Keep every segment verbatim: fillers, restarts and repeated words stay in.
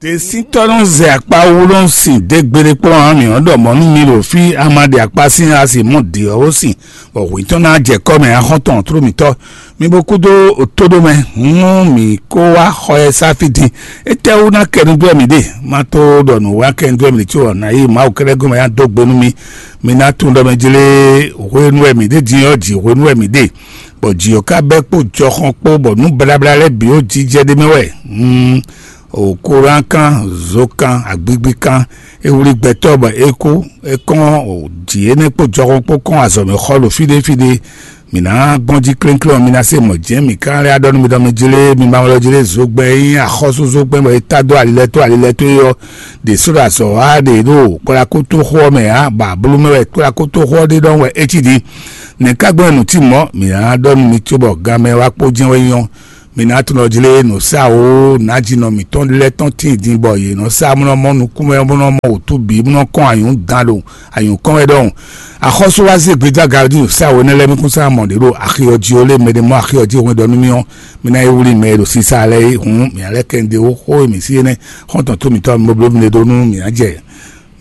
Tɛsíntɔ́ nɔ zɛ akpa wú nɔ sin dé gbeɖé kpɔ́n ǎ, mǐ nɔ ɖɔ mɔ̌ nú mi ɖo fí, a ma ɖe akpa sín a sì mɔ ɖě ɔ́ ó sin, bɔ hwǐ tɔn ná jɛ kɔ́ mɛ axɔ́ntɔn tló mǐtɔn. Mi bo kúdó tóɖó mɛ, hǔn mǐ kó wá xɔ ɛ sá fí din. Étɛ́wú ná kɛ nú dó wɛ mǐ ɖe? Má tó ɖɔ nǔ wá kɛ nú dó wɛ mǐ ɖe có ɔ́, nǎ yi Mawu kɛ́ɖɛ́ gɔ́n mɛ ná dó gbe nú mì. Mi ná tunwun ɖɔ mɛ jlé hwenu wɛ mǐ ɖe din ɔ́, jǐ hwenu wɛ mǐ ɖe, bɔ jǐ ɔ́ ka bɛ́ kpó jɔxɔn kpó, bɔ nǔ blabla lɛ́ɛ bǐ ó jijɛ ɖ'é mɛ wɛ. Hmm. O koran kan, zo kan, agbigbi kan, e wlí gbɛtɔ́ bɔ é kú, é kɔn o jǐ énɛ́ kpó jɔxɔn kpó kɔn azɔ̌ mɛ xɔ ɖo fí ɖé fí ɖé. Mǐ ná gbɔn jí klénklén ɔ́, mi ná se mɔ̌ jɛ́n mǐ ka lɛ́ ɖɔ nú mi ɖɔ mi jlé, mi ma wlɔ jlé zogbɛ́n e nyí axɔ́súzogbɛ́n bɔ è tá dó ali lɛ́ɛ tó ali lɛ́ɛ tó é ɔ́, ɖě sɔ́ ɖo azɔ̌ wa ɖě ɖo kplákútúxu ɔ́ mɛ ǎ, bɔ ablú mɛ wɛ kplákútúxu ɔ́ ɖe ɖɔhun wɛ é cí din. Nɛ̌ ka gbɔn nǔ cí mɔ̌? Mǐ ná ɖɔ nú mi cóbɔ ganmɛ wá kpó jɛ́n wɛ nyɔ́. Mi ná tunɔ jlé nǔsáwó nǎjínɔ mǐtɔn lɛ́ɛ tɔn tíin din bɔ yě nɔ sá bó nɔ mɔ nukúnmɛ bó nɔ mɔ wǔtú bǐ bó nɔ kɔn anyǔ dan ɖo anyǔ kɔn wɛ ɖɔhun. Axɔ́sú wá zé gbedó aga ɔ́ jí nǔsáwó énɛ́ lɛ́ɛ mi kún sá mɔ ɖě ɖo axi ɔ́ jí ó lé mɛ ɖé mɔ axi ɔ́ jí hwɛn ɖɔ nú mì ɔ́, mi ná yi wlí mɛ e ɖo sísá lɛ́ɛ é hǔn mǐ ná lɛ́ kɛ ɖe ó xó e mǐ sí énɛ́ xɔ́ntɔn tó mǐtɔn mi bo bló mi ɖe ɖó nú mǐ ná jɛ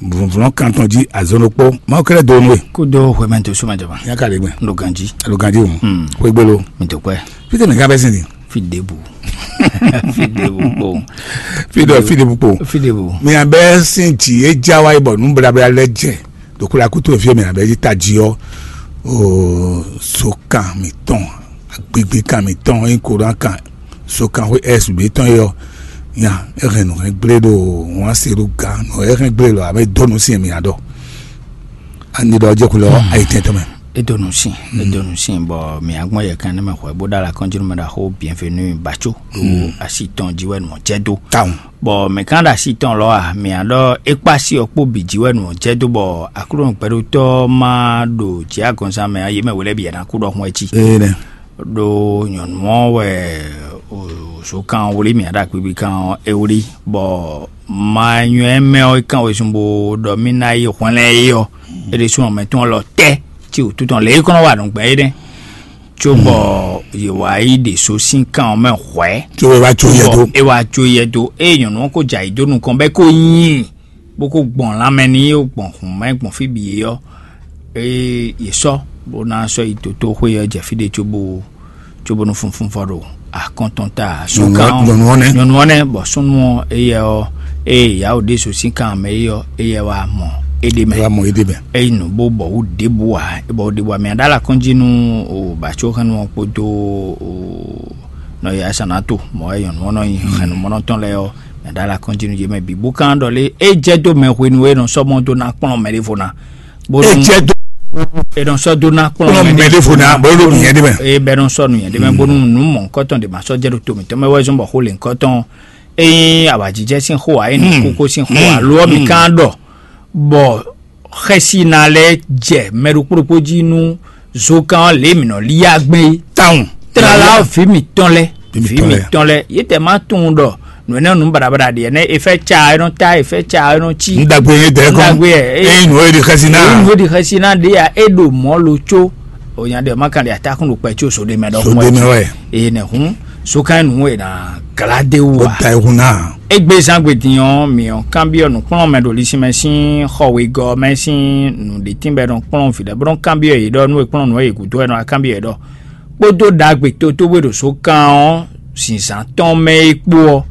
vlɔ̌nkan tɔn jí azɔn ɖokpó. Mawu kɛ́ɖɛ́ do nú we. Kúdó hwemɛ tó súnmọ́ ìjọba. Nyaka ɖe gbɛ. Lo ganjí. Lo ganjí o. Hmm. Xwégbé lo. Mi tó kpẹ́. Fítɛ́ mɛ ká bɛ́ sin din? Fi ɖěbǔ. Fi ɖěbǔ kpowun. Fi ɖɔ fi ɖěbǔ kpowun. Fi ɖěbǔ. Mi abɛ sin jǐ e já wáyé bɔ nǔ blabla lɛ́ jɛ ɖo kúlakútú e fí e mi abɛ yí tají ɔ́, o sokan mǐtɔn, agbigbikan mǐtɔn, é nyí koran kan, sokan xwé S B tɔn é ɔ́, nya é hɛn nǔ hɛn gblé ɖo wǎn se ɖo gǎn nǔ é hɛn gblé lɔ abɛ dó nǔ sin mi aɖɔ. Ani ɖɔ jɛ kulɔ ayi tɛn tɔn mɛ. E do nu sin, e do nu sin bɔ mi agbɔn yɛ kan ne mɛ xɔ bo da la kɔnjinu mɛ da xo bienvenue batso do asi tɔn ji wɛ nɔ jɛ do. Taun. Bɔ mɛ kan da asi tɔn lɔ a mi aɖɔ ekpa si ɔ kpo bi ji wɛ nɔ jɛ do bɔ aklɔn gbɛɖotɔ ma ɖo jɛ agɔnzan mɛ ayi mɛ wele bi yɛn akú ɖɔ hun ɛtsi. Ee nɛ. Ɖo nyɔnu ɔ́ wɛ o zo kan wli mi aɖa kpikpi kan ɔ́ e wli bɔ ma nyɔɛ mɛ ɔ́ kan wezun bo ɖɔ mi ná yi hwlɛn é ɔ́. E ɖe sun ɔmɛ tɔn lɔ tɛ ci wútu tɔn lě kɔnɔ wà nù gbɛ é nɛ. Tso bɔ yě wá yi ɖe so sín kan ɔ́ mɛ hwɛ̌. Tso bɔ é wá tso yɛ dó. É wá tso yɛ dó eye nyɔnu ɔ́ ko jɛ ayǐ dó nukɔn bɔ é ko nyi bó ko gbɔn lanmɛ n'i, bó gbɔn hǔn mɛ gbɔn fí bǐ é ɔ́, ée yě sɔ́ bó ná sɔ́ yi dotóxwé ɔ́ jɛ fí ɖé cóbó cóbónú funfun vɔ ɖo akɔ́ntɔn ta. Nyɔnu ɔ́ nɛ́. Nyɔnu ɔ́ nɛ́ bɔ súnnu ɔ́ éyɛ ɔ́, ée yǎwo ɖésú sín kan mɛ é ɔ́, éyɛ wá mɔ éɖé mɛ. Wá mɔ éɖé mɛ. Eyi nǔ bó bɔ wú ɖěbǔ ǎ, bɔ wú ɖěbǔ ǎ. Mɛ aɖá la kɔn jí nú o bǎcóhɛnnú ɔ́ kpódó o nɔ yɛ asanato mɔ̌ wɛ nyɔnu ɔ́ nɔ nyi hɛnnumɔnɔ tɔn lɛ́ɛ ɔ́, mɛ aɖá la kɔn jí nú yě mɛ bǐ bó kán ɖɔ lé é jɛ dó mɛ hwenu e nɔ sɔ́ mɔ dó ná kplɔ́n mɛ ɖěvo ná. Bónú é jɛ dó é nɔ sɔ́ dó ná kplɔ́n kplɔ́n mɛ ɖěvo ná bó ɖo nǔnyɛ ɖé mɛ. É bɛ nɔ sɔ́ nǔnyɛ ɖé mɛ bónú nǔ mɔ̌hunkɔtɔn ɖě ma sɔ́ jɛ ɖo to mǐtɔn mɛ wɛ zɔ́n bɔ xó lěhunkɔtɔn é nyí awǎjijɛ sín xó ǎ, é nyí kókó sín xó ǎ, lo ɔ́ mǐ kán ɖɔ bɔ xɛsi ná lɛ́ jɛ mɛ ɖokpó ɖokpó jí nú zokan ɔ́ lě mǐ nɔ lí yá gbé. Tawun. Tlala ɔ́ vǐ mǐtɔn lɛ́ɛ, Vǐ vǐ mǐtɔn lɛ́ɛ. Mǐtɔn lɛ́ɛ, yě tɛ má tunwun ɖɔ nǔ énɛ́ nǔ baɖabaɖa ɖě ɛnɛ́ è fɛ ca é nɔ ta, è fɛ ca é nɔ cí. Nú ɖagbe e dɛ̌ kɔn. Nú ɖagbe ɛ, é Ényí nǔ e ɖi xɛsi ná. Ényí nǔ e ɖi xɛsi ná ɖě ya é ɖo mɔ̌ lo có. Ò nya ɖe má kan ɖe atákùn ɖo kpɛ có sóɖe mɛ ɖɔhun Sóɖe mɛ wɛ. Eye nɛ hǔn zokan nǔ e ná glá dé wú Ó ǎ. Da ehun ná. Égbé zán gbe din ɔ́, mǐ ɔ́ kanbyɔ́ nǔkplɔ́nmɛ ɖo lisinmɛ sín xɔ wegɔ́ ɔ́ mɛ sín nǔɖétínbɛ́ nɔ kplɔ́n vǐ lɛ́ɛ bó nɔ́ kanbyɔ́ yě ɖɔ nú è kplɔ́n nǔ ɔ́ yě gúdo wɛ nɔ wá kanbyɔ́ yě ɖɔ kpódó ɖagbe tótóbwe ɖo sókan ɔ́ zǐnzán tɔn mɛ é kpó ɔ́,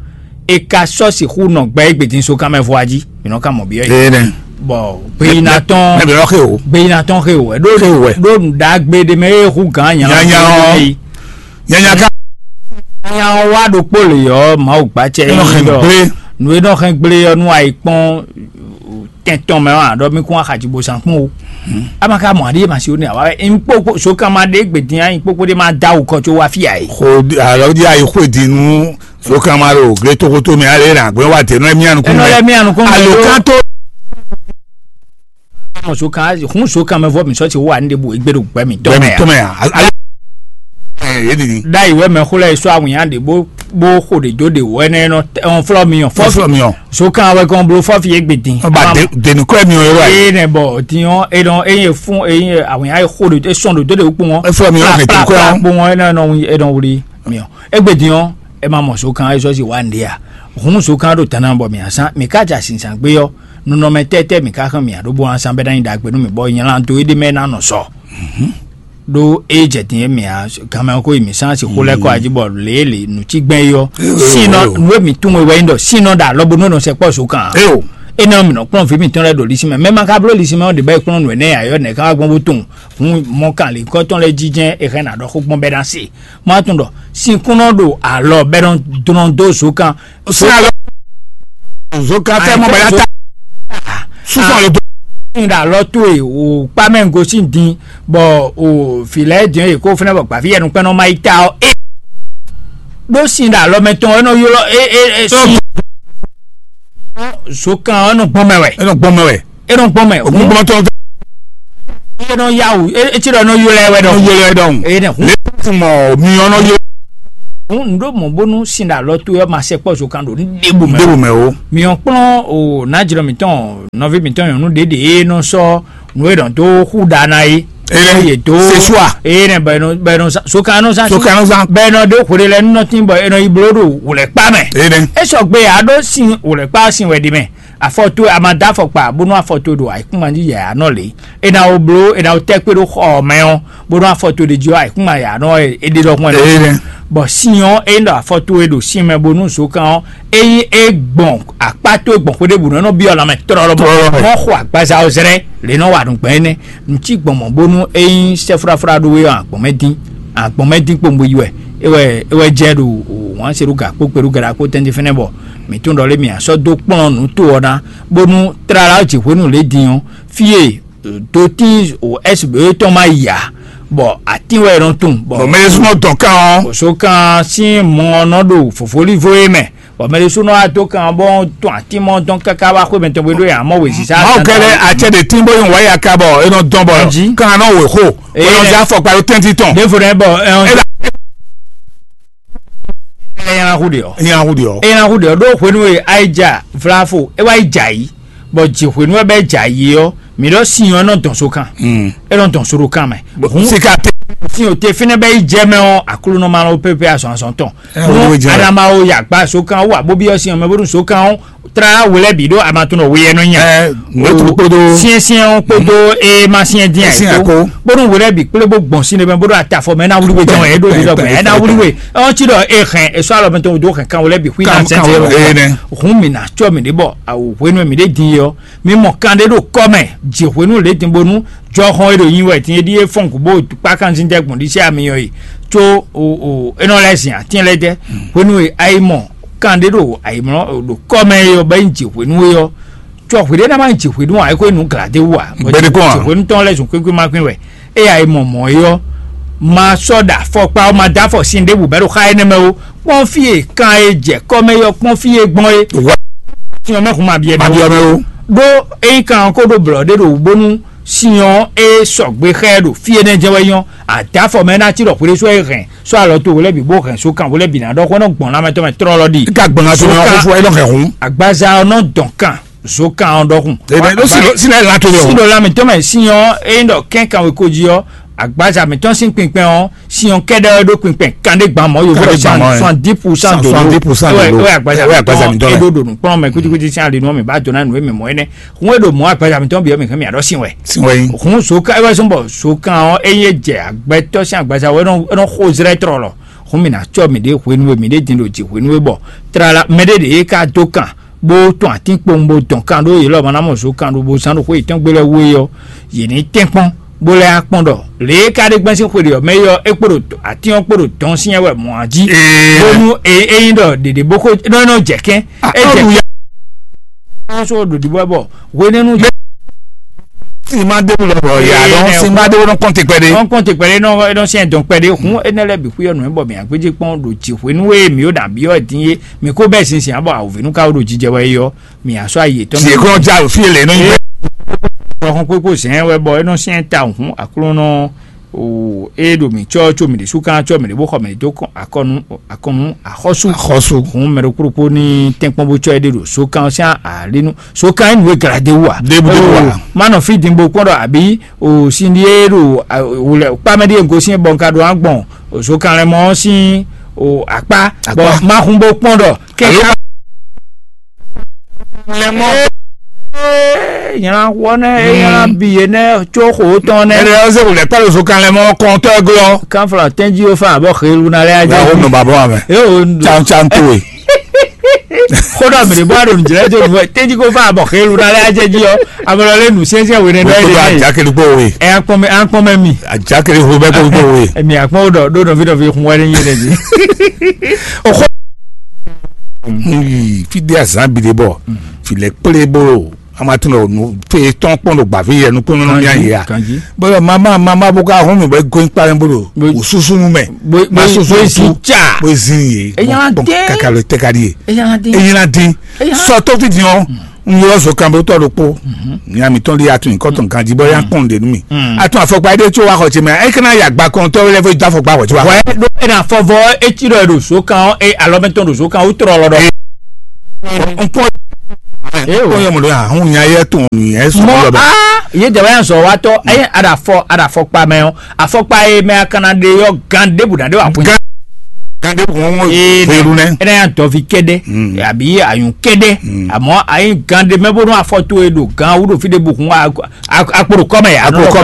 è ka sɔ́ sixú nɔ gbɛ égbé din sókan mɛ vɔ a jí? Mǐ nɔ ka mɔ byɔ́ yě. Ee nɛ. Bɔ gbeyina tɔn Mɛ bɛ lɔ xe o. Gbeyina tɔn xe o wɛ ɖó Xe o wɛ. Ɖó nǔɖagbe ɖé mɛ é hu gǎn nyanya Nyanya ɔ́. Nyanya ka. Nya ɔ́ wá ɖokpó lě ɔ́, Mawu gbacɛ Enɔ xɛn gblé. Nu e nɔ xɛn gblé ɔ́ nú ayǐ kpɔ́n tɛn tɔn mɛ ɔ́, aɖɔ mi kún axaji bo zan kpɔ́n o. Ama ka mɔ aɖi ma si o ne awa wɛ nkpokpo so kan ma ɖe gbe din ayi kpokpo ɖe ma da o kɔ tso wa fi ayi. Xo alɔ di ayi xo di nu so kan ma ɖo gle togoto mɛ ale na gbɛ wa de nɔ emi anu kun Enɔ lɛ mi anu kun alo kan to. Mɔ so kan hun so kan mɛ vɔ mi sɔ ti wa ne de bu egbe ɖo gbɛ mi tɔ Gbɛmi mɛ tɔmɛ ya. Alo. Ɛ yé nini. Da yi wɛ mɛ xo lɛ sɔ awunya de bo bo xo de do de wɛ nɛ nɔ ɔn flɔ mi ɔn Fɔ fɔ fɔ mi ɔ. So kan wɛ kɔn blo fɔ fi egbe din. Ɔba de de nukɔ mi ɔ yɔrɔ ayi. Ee nɛ bɔ diɲɔ e nɔ eye fún eye awunya e xo de e sɔn do do de kpɔn. Eflɔ mi ɔ ne to kura. Kpɔn e nɔ e nɔ wuli mi ɔ egbe diɲɔ e ma mɔ so kan e sɔ si wa nde ya. Hun zokán ɖo tana bɔ mǐ asán mǐ ká ja sinsán gbé ɔ́, nunɔmɛ tɛ́tɛ́ mǐ ká xán mǐ aɖó bó asán bɛ́ ná nyí ɖagbe nú mǐ bɔ nyɛ lan dó éɖé mɛ ná nɔ sɔ. Ɖó é jɛ din e mǐ a ganmɛ ɔ́ ko yi mǐ sán si xó lɛ́ kɔ ají bɔ lě e lě nǔ cí gbɛn é ɔ́. Sinɔ nǔ e mǐ tunwun e wɛ nyí ɖɔ sinɔ ɖo alɔ bónú nɔ sɛ kpɔ́ zokán. Eo. Énɛ́ ɔ́ mǐ nɔ kplɔ́n vǐ mǐtɔn lɛ́ɛ ɖo lisí mɛ mɛ ma ka bló lisí mɛ ɔ́ ɖě bɔ é kplɔ́n nǔ énɛ́ ǎ ɔ́ nɛ̌ ká wá gbɔn bó tunwun. Hun mɔkàn lǐnkɔ́tɔn lɛ́ɛ jínjɛ́n è hɛn ná ɖɔ xó gbɔn bɛ́ ná se. Má tunwun ɖɔ sín kún nɔ ɖo alɔ bɛ́ nɔ dlɔ́n dó zokán. Sín alɔ zokán fẹ́ mɔ bɛ́ ná ta. Súsɔ lè dó. Ní ɖo alɔ tó e o kpá mɛ gosín din bɔ o fǐ lɛ́ɛ dín e kó fɛnɛ bɔ gbǎví yɛnu kpɛ́nɔ má yi ta ɔ́ é. Ɖó sin ɖo alɔ mɛ tɔn é nɔ ylɔ́ é é é sin. Zokán ɔ́ nɔ gbɔn mɛ wɛ. É nɔ gbɔn mɛ wɛ. É nɔ gbɔn mɛ. Ògúngbɔntɔn fẹ́. É nɔ yá wǔ é é tí ɖɔ é nɔ ylɔ́ ɛ wɛ nɔ ɖɔhun. Ylɔ́ ɛ ɖɔhun. É nɛ hun. Lě tún mɔ mi ɔ́ nɔ ylɔ́. Hun ndo mɔ bónú sin ɖo alɔ tó ɔ́ ma sɛ kpɔ́ zokán ɖo ní ɖěbǔ mɛ. Ɖěbǔ mɛ o. Mi ɔ́ kplɔ́n o nǎjlɔ mǐtɔn nɔví mǐtɔn nyɔ̌nu ɖě ɖě e nɔ sɔ́ nǔ e nɔ dó xú ɖa ná é. Eye dó sesua. Eye nɛ bɔ ɛnɔ bɔ ɛnɔ zan sokanɔ zan. Sokanɔ zan. Bɔ ɛnɔ ɖó xwle lɛ nɔ tín bɔ ɛnɔ yi bló ɖo wòlɛkpa mɛ. Eye nɛ. E sɔgbe a ɖó sin wòlɛkpa sin wɛ ɖi mɛ. Afɔ towe a ma dó afɔkpa bónú afɔ towe ɖo ayǐkúngban jí yɛ anɔ lě. E na wo bló e na wo tɛ́ kpé ɖó xɔ mɛ ɔ́ bónú afɔ towe ɖe jí ɔ́ ayǐkúngban yɛ anɔ e ɖe ɖɔhun ɛnɔ. Eye nɛ. Bɔ sin ɔ́ e ɖɔ afɔ towe ɖo sin mɛ bónú zokan ɔ́ ényí é gbɔn akpá towe gbɔn xwé ɖěbǔ nɔ nɔ byɔ́ lanmɛ tlɔlɔ bɔ mɔ xɔ agbaza ɔ́ zlɛ́ lě nɔ wa nǔgbɛ́ énɛ́. Nǔ cí gbɔn mɔ̌ bónú é nyí sɛ́fláflá ɖó we ɔ́ agbɔ̌n mɛ dín agbɔ̌n mɛ dín kpowun bó yi wɛ é wɛ é wɛ jɛ ɖo wǎn se ɖó gǎ kpó kpé ɖó gɛɖá kpó tɛ́ntin fɛ́nɛ bɔ mǐ tún ɖɔ lé mǐ a sɔ́ dó kplɔ́n nǔ to ɔ́ ná bónú tlala ɔ́ jǐ hwenu lě din ɔ́ fí e dotín o S B E tɔn ma yi ǎ bɔ atín wɛ è nɔ tunwun bɔ Bɔ mɛ e súnmọ́ dɔn kan ɔ́. Bɔ̌sókan sín mɔ ɔ́ nɔ ɖo fǒfólívo é mɛ bɔ mɛ ɖésú nɔ wá dó kan bɔ tɔn atín mɔ dɔn káká wá xwé mɛtɔn bó ɖó yǎ mɔ wěziza. Mawu kɛlɛ atsɛ ɖe tín bó yi wá ya ka bɔ e nɔ dɔn bɔ Anji. Kan nɔ wě xo Ee. Bɔ nɔ zɛ afɔkpa ɖó tɛntin tɔn. Ɖěvo nɛ bɔ ɛ ɔn. Ela. Ela hu de ɔ. Nya hu de ɔ. Ela hu de ɔ ɖó hwenu e ayi ja vlafo e wá yi ja yi bɔ dzi hwenu e bɛ ja yi ɔ mi ɖɔ sin ɔ nɔ dɔn so kan. Mm. E nɔ dɔn so ɖo kan mɛ. Hun Sika te. Sin o te fínɛ bɛ yi jɛ mɛ ɔ aklunɔ ma lɔ pépé azɔn azɔn tɔn. Ɛ, Hun wo jɛ. Adama o ya gba so kan wa bo bi ɔ sin ɔ mɛ bo ɖun so kan ɔ tra wòlɛ bi ɖo amatɔnɔ weyɛ nɔ nya. Ɛ, wetru kpodo. Siɛnsiɛn ɔ kpodo e ma siɛn diɛ Siɛn ko. Ko. Bo ɖun wòlɛ bi kple bo gbɔn sin de mɛ bo ɖo atafɔ mɛ na wuli we jɔn ɛ ɖo di dɔ gbɛ ɛ na wuli we ɔn ti dɔ e hɛn e sɔ alɔ mɛ tɔn do hɛn kan wòlɛ bi hui na Kan- kan sɛnsɛn wòlɛ, ee, nɛ. Hun mi na tsɔ mi de bɔ awo hwenu mi de din yɔ mi mɔ kan de ɖo kɔ mɛ dzi hwenu le din bonu jɔxɔn e ɖo nyi wɛ tin e ɖi e fɔn gǔ bó kpákánzin dɛ gbɔn ɖisí amiyɔ yi tso o o enɔ lɛ zin atín lɛ dɛ hwenu e ayi mɔ kan ɖé ɖo ayi mɔ ɖo kɔ mɛ e ɔ bɛ nyi dzi hwenu e ɔ tsɔ hwi ɖé ná ma nyi dzi hwenu ɔ ayiko enu glade wu a Gbɛɖe kɔn a? Dzi hwenu tɔn lɛ zun kwékwé ma kwín wɛ e ayi mɔ mɔ e ɔ ma sɔ ɖa fɔkpa ɔ ma da fɔ sin ɖé bu bɛ ɖo xa enɛ mɛ o kpɔn fi e kan e jɛ kɔ mɛ yɔ kpɔn fi e gbɔn e Wa- tiɲɔ mɛ hun ma biɛ ma mɛ biɔ o mɛ o. Ɖó eyi kan ko ɖo blɔ ɖé ɖo bonu sinyɔn e sɔgbe xɛ ɖo fie nɛ jɛ wɛ nyɔ adafɔ mɛ na ti ɖɔ xwle sɔ e hɛn sɔ alɔ to wòlɛ bi bó hɛn so kan wòlɛ bi na ɖɔ xɔ nɔ gbɔn lamɛ tɔn mɛ trɔlɔ ɖi. Ka gbɔn ka tɔn Zokan- fɔ e nɔ hɛn hun. Agbaza ɔnɔ dɔn kan zokan ɔdɔkun. Ebe ló sì ló sì lɛ la to yɔ. Si ɖo lamɛ tɔn mɛ sinyɔn e ɖɔ kɛn kan weko ji ɔ agbaza mɛ tɔn sin kpinkpɛn ɔ sinyɔn kɛɖɛ ɔ ɖo kpinkpɛn kan ɖe gban mɔ yovo Kan ɖe gban mɔ, ɛ. Soixante-dix pour cent de l'eau. Soixante-dix pour cent de l'eau. Ɛwɛ agbaza Ɛ, wɛ agbaza mɛ mi tɔn tɔn lɛ. E ɖo ɖo nukplɔn mɛ kutikutí sin ali nu mi ba dona nu mi mɔ ɛnɛ. Hun e ɖo mɔ agbaza mi tɔn bi ɔ mi hɛn mi aɖɔ sin wɛ. Sin wɛ. Hun soka ewɛ sɔn bɔ sokan ɔ eye jɛ agbɛtɔ sin agbaza wɛ nɔ nɔ xo zrɛ trɔ lɔ. Hun mi na tsɔ mi ɖe hwenu e mi ɖe din ɖo dzi hwenu e bɔ trala mɛ ɖe ɖe ka do kan bó tɔn atín kpowun bó dɔn kan ɖó yě lɔ ma ná mɔ zo kan ɖó bó zán ɖo xó yětɔn gbe lɛ́ wú é ɔ́, yě ní tɛ́nkpɔ́n bó lɛ́ akpɔ́n ɖɔ lě e ka ɖe gbɛ́n sín xwe ɖě ɔ́ mɛ é ɔ́, é kpo ɖo atín ɔ́ kpo ɖo dɔn sín ɛ wɛ mɔ̌ jí. Ee. Bónú e é nyí ɖɔ ɖěɖě bó xó nɔ nɔ jɛ kɛn. Ah, é jɛ ɔ́ ɖu ya. Ɔ́ sɔ ɖo ɖiɖɔ bɔ hwenɛ́nu Si ma ɖe wulɔ bɔ ya Ee, dɔn nɛ. Si ma ɖe wulɔ kɔnte kpɛɖe. Ɔn kɔnte kpɛɖe nɔ nɔ sɛn dɔn kpɛɖe hun enɛ lɛ bi xuyɔ nɔ bɔ mi agbedze kpɔn ɖo dzi hwenu e mi o da bi ɔ din ye mi ko bɛ sinsin abɔ awuvenu ka wo ɖo jijɛ wɛ yɔ mi asɔ ayi etɔn. Si ekɔnɔ ja o fi ele nɔ yi. Ɔhɔn kpekpe zɛn wɛ bɔ enɔ sɛn ta hun aklɔnɔ o e ɖo mi tsɔ tso mi ɖe su kan tsɔ mi ɖe bó xɔ mi ɖe dó akɔnu akɔnu axɔsu. Axɔsu. Hun mɛ ɖo kpokpo ni tɛnkpɔn bó tsɔ e ɖe ɖo so kan sɛn alinu so kan enu e gla de wa. Ɖebu ɖebu wa. Manɔ fi din bo kpɔn ɖɔ abi o sin ɖi e ɖo wòlɛ kpamɛ ɖi e gosin bɔ nka ɖo agbɔn o so kan lɛ mɔ sin o akpa. Akpa. Bɔn ma hun bo kpɔn ɖɔ kɛkɛ. Lɛ mɔ. Nyla wɔ nɛ, nyla bi ye nɛ, tso xo tɔn nɛ. Ɛnɛ ɔsɛ wòlɛ kpalo so kan lɛ mɔ kɔntɔ glɔ. Kanfla tɛnji o fa abɔ xelu na lɛ. Wa wo nɔ babɔ amɛ. E o. Tsan tsan to e. Xo dɔ mi de bɔ a ɖo nujlɛ jo nu tɛnji ko fa abɔ xelu na lɛ ajɛ ji ɔ. Amɛ lɔ lɛ nu siɛnsiɛn wene nɔ Gbogbo ye. Ajakele kpo we. Ɛ akpɔn mɛ akpɔn mɛ mi. Ajakele ho bɛ kpo kpo we. Emi akpɔn o dɔ do dɔ fi dɔ fi kun wɛ ne nyi ne ji. Oxo. Fi de azan bi de bɔ. Fi lɛ kple bolo. Ama tún lɔ nu pe tɔn kpɔn ɖo gbàví yɛ nukúnnú ní ayé a. Bɔlɔ mama mama bó ká hún mi bɔ é gɔ́n kpá mɛ bolo. Wò súsú nu mɛ. Ma súsú su. Bó zin yé. Kaka ló tɛ ka di yé. Eyín la dín. Sɔ tó fi dín ɔ. N yɔ zɔ kan bó tɔ ɖokpó. Ní ami tɔn di atún kɔtɔn kan di bɔ yá kpɔn de nu mi. Atún afɔkpa ɖé tso wa xɔ tse mɛ. E kana yà gba kɔn tɔ lɛ fo da afɔkpa xɔ tse wa. Wɛ ɖo ena fɔvɔ etsi ɖɔ ɖo so kan ɔ e alɔmɛtɔn ɖo so kan o trɔ lɔ ɖɔ. Nkpɔn. Nkpɔn yɛ mɔ ɖo ya hun nya yɛ tɔn yɛ sɔ Mɔ lɔ bɛ. Aa ye dɛ wɛ yan zɔ wa tɔ eye aɖa fɔ aɖa fɔkpa mɛ ɔ afɔkpa ye mɛ akana ɖe yɔ gan ɖebu na ɖe wa kun. Gande wọn wọn Ee, fèrú nɛ. Ena yan dɔvi kɛɖɛ abi ayun kɛɖɛ amɔ ayi gan ɖe mɛ bó nɔ afɔ to e ɖo gan wú ɖo fi ɖe bu kun akporo kɔmɛ akporo kɔmɛ